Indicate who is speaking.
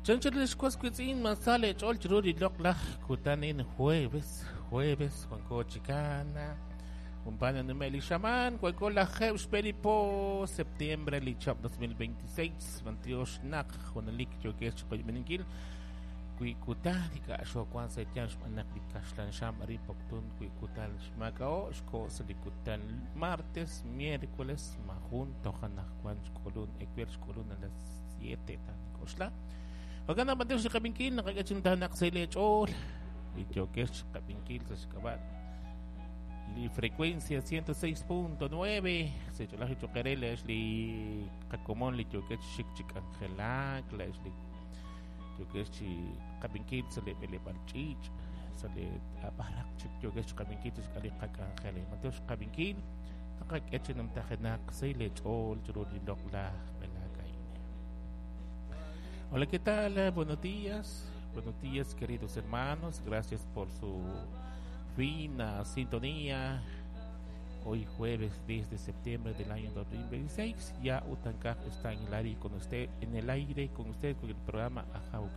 Speaker 1: Chanchal lix was wiitz'in ma sa leech'ool chiru li loq'laj kutan in jueves, jueves wanko chikana jumpana nume' li xamaan wanko lajeeb' xb'e li po septiembre li chihab' 2026. B'antiox naq junelik yookex chiqoyb'eninkil wi kutan li k'a'xowan sa' eeyanq xb'aan naq li kaxlan xam arin Poptún wi kutan xmaak'a'o' xko' sa' li kutan martes, miércoles majun toj anaqwan xk'ulun ewer xk'ulun a las 7 ta nik'oxla. Jo'kan naq b'antiox li qab'inkil naqak'e chi numtajenaq sa' leech'ool li yookex chiqab'inkil sa' xk'ab'a' li frecuencia 106.9 sa' ch'olaj choq' eere leex li qakomon li yookex chi xik chi k'anjelak, leex li yookex chi qab'inkil sa' li b'eleb'aal ch'iich', sa' li b'araq chik yookex chi qab'inkil chi xk'al li qak'anjel. B'antiox qab'inkil naqak'e chi numtajenaq sa' leech'ool chiru li loq'laj b'elaak a'in. Hola, ¿qué tal? Buenos días. Buenos días, queridos hermanos. Gracias por su fina sintonía. Hoy jueves 10 de septiembre del año 2026, ya Utankaj está en el aire con usted, en el aire con usted con el programa Ajaw.